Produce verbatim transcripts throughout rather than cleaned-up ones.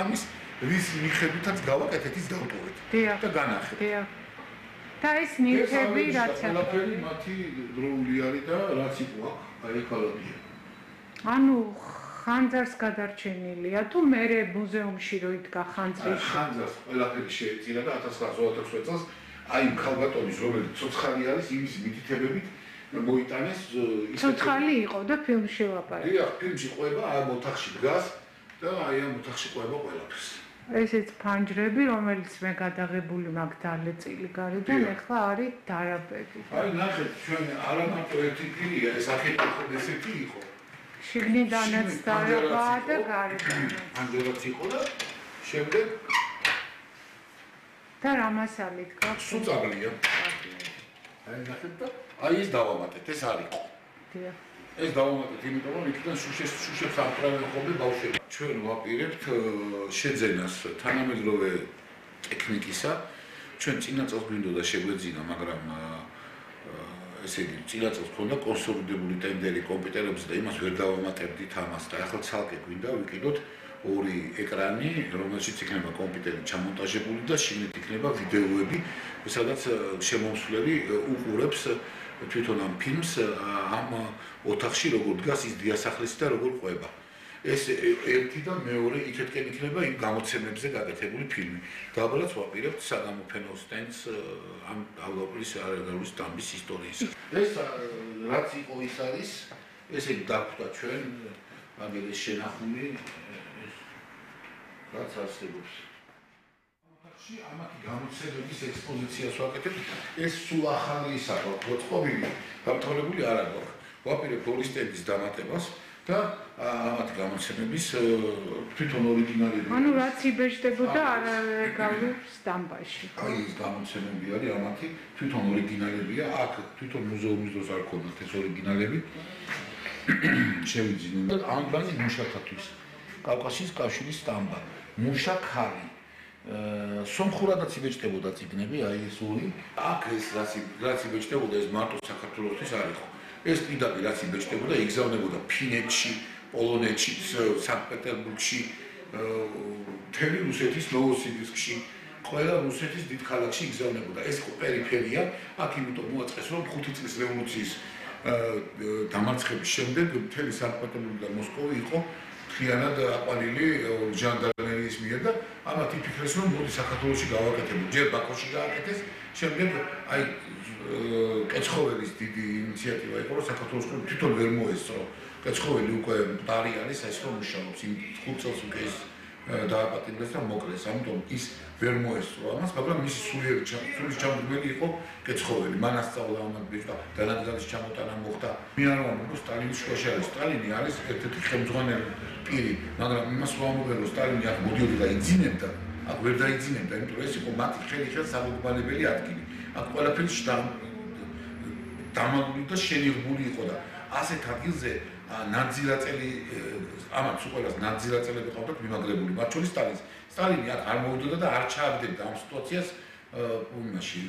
ამის რის მიხედვითაც გავაკეთეთ ის დავტოვეთ და განახეთ. დიახ. და ეს ნივთები რაც ყველაფერი მათი დროული არის და რაც იყო აქ აი ეკოლოგია. ანუ ხანძარს გადარჩენილია თუ მერე მუზეუმში რო იდგა ხანძრის ხანძარს ყველაფერი შეეწირა და ათას ცხრაასი ოცდაოთხ წელს აი ქალბატონის რომელიც ცოცხალი არის იმის მითითებებით მოიტანეს ცოცხალი იყო და ფილმში ვაპარაკე. დიახ, ფილმში ყვება ამ ოთახში დგას და აი ამ ოთახში ყვება ყველაფერს. ესეც ფანჯრები, რომელიც მე გადაღებული მაქვს დალეწილი გარედან, ეხლა არის დარაბები. აი ნახეთ, ჩვენ არა მარტო ერთი ფილია, ეს აქეთ ესეთი იყო. შიგნიდანაც დარაბაა და გარედან. ფანჯრაც იყო და შემდეგ და რა მასალით გაქვს? სუწავლია. აი ნახეთ და აი ეს დავამატეთ, ეს არისო. დიახ. ეს დავამატეთ, იმიტომ რომ იქიდან შუშეს შუშებს ამправენ ხოლმე ბავშვები. ჩვენ ვაპირებთ შეძენას თანამედროვე ტექნიკისა. ჩვენ წინა წელს გვინდოდა შეგვეძინა, მაგრამ ესე იგი, წინა წელს ქონდა კონსოლიდებული ტენდერი კომპიუტერებზე და იმას ვერ დავამატებდით ამას და ახლა ცალკე გვინდა ვიყიდოთ ორი ეკრანი, რომელშიც იქნება კომპიუტერი ჩამონტაჟებული და შიგნით იქნება ვიდეოები, სადაც შემომსვლელი უყურებს თვითონ ამ ფილმს ამ ოთახში როგორ დგას ის დიასახლისი და როგორ ყვება. ეს ერთი და მეორე იქეთკენ იქნება იმ გამოცემებზე გაკეთებული ფილმი. დაბალაც ვაპირებთ საგამოფენო სტენდს ამ ალგორიტმის არაგარულის დამბის ისტორიის. ეს რაც იყო ის არის, ესე დაგვხვდა ჩვენ მაგელის შენახული რაც არსებობს. ოთახში ამათი გამოცემების ექსპოზიციას ვაკეთებ. ეს სულ ახალი ისაა, მოწყობილი, გამთვალებული არ აქვს. ვაპირებთ ორი სტენდის დამატებას და ამათი გამოცემების თვითონ ორიგინალები. ანუ რაც იბეჭდებოდა არალეგალურ სტამბაში. აი ეს გამოცემები არის ამათი თვითონ ორიგინალებია. აქ თვითონ მუზეუმის დროს არ ქონდათ ეს ორიგინალები. შევიძინე და ამბანი მუშაკათვის. კავკასიის კავშირის სტამბა. მუშა ქარი. სომხურადაც იბეჭდებოდა წიგნები, აი ეს ორი. აქ ეს რაც რაც იბეჭდებოდა ეს მარტო საქართველოსთვის არ იყო. ეს პირდაპირ რაც იბეჭდებოდა, იგზავნებოდა ფინეთში, პოლონეთში, სანქტ-პეტერბურგში, მთელი რუსეთის ნოვოსიბირსკში, ყველა რუსეთის დიდ ქალაქში იგზავნებოდა. ეს პერიფერია, აქ იმიტომ მოაწყეს, რომ ხუთი წლის რევოლუციის დამარცხების შემდეგ მთელი სანქტ-პეტერბურგი და მოსკოვი იყო მთლიანად აყვანილი ჟანდარმერიის მიერ და ამათ იფიქრეს, რომ მოდი საქართველოში გავაკეთებთ. ჯერ ბაქოში გააკეთეს, შემდეგ აი კეცხოველის დიდი ინიციატივა იყო, რომ საქართველოს თვითონ ვერ მოესწრო. კეცხოველი უკვე დარი არის, ეს რომ მუშაობს, იმ ხუთ წელს უკვე ის დააპატიმრეს და მოკლეს, ამიტომ ის ვერ მოესწრო ამას, მაგრამ მისი სულიერი სულის ჩამდგმელი იყო კეცხოველი. მან ასწავლა ამათ ბიჭდა, დანადგარის ჩამოტანა მოხდა. მე არ ვამბობ, რომ სტალინის შუაში არის. სტალინი არის ერთ-ერთი ხელმძღვანელი პირი, მაგრამ იმას ვამბობ, რომ სტალინი აქ მოდიოდა და იძინებდა, აქ ვერ დაიძინებდა, იმიტომ რომ ეს იყო მათი ხელი ხელს სამოგბანებელი ადგილი. აქ ყველაფერი დამალული და შენიღბული იყო და ასეთ ადგილზე ნაძილაწელი ამაც უყურეს ნაძილაწელები ყავდათ მიმაგრებული მათ შორის სტალინს. სტალინი აქ არ მოვიდოდა და არ ჩააგდებდა ამ სიტუაციას იმაში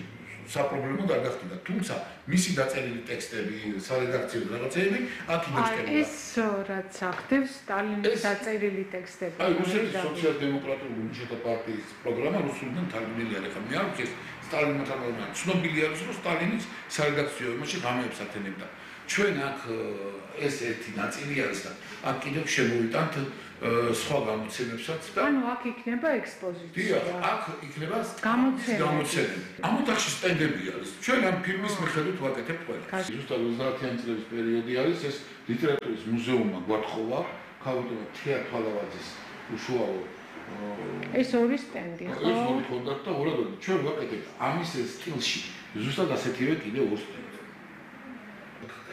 საპრობლემო არ გახდა. თუმცა მისი დაწერილი ტექსტები, სარედაქციო რაღაცეები აქ იბეჭდებოდა. ეს რაც ახდებს სტალინის დაწერილი ტექსტები. აი რუსეთის სოციალ-დემოკრატიული მუშათა პარტიის პროგრამა რუსულიდან თარგმნილი არის. ხა მე არ ვიცი სტალინმა თარგმნა. ცნობილი არის რომ სტალინის სარედაქციო იმაში ღამეებს ათენებდა. ჩვენ აქ ეს ერთი ნაწილი არის და აქ კიდევ შემოვიტანთ სხვა გამოცემებსაც და ანუ აქ იქნება ექსპოზიცია. დიახ, აქ იქნება გამოცემები. ამ ოთახში სტენდები არის. ჩვენ ამ ფილმის მიხედვით ვაკეთებთ ყველას. ზუსტად ოცდაათიანი წლების პერიოდი არის ეს ლიტერატურის მუზეუმმა გვათხოვა ქალბატონი თეა თვალავაძის უშუალო ეს ორი სტენდი ხო? ეს ორი კონდაქტ და ორად ჩვენ ვაკეთებთ ამის სტილში ზუსტად ასეთივე კიდევ ორ სტენდს.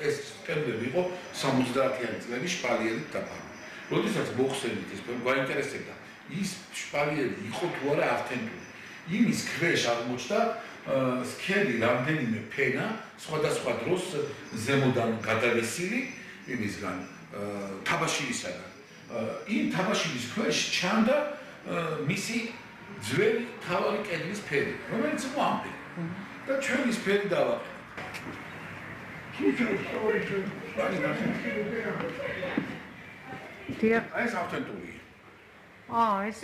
ეს სტენდები იყო სამოცდაათიანი წლების შპალიერით დაფარული. როდესაც მოხსენით ეს გვაინტერესებდა ის შპალიერი იყო თუ არა ავთენტური. იმის ქვეშ აღმოჩნდა სქელი რამდენიმე ფენა სხვადასხვა დროს ზემოდან გადალესილი იმისგან თაბაშილისაგან. იმ თაბაშილის ქვეშ ჩანდა მისი ძველი თავარი კედლის ფერი, რომელიც იყო ამ ფერი. და ჩვენ ის ფერი დავაყენეთ. დიახ, ეს ავთენტურია. აა ეს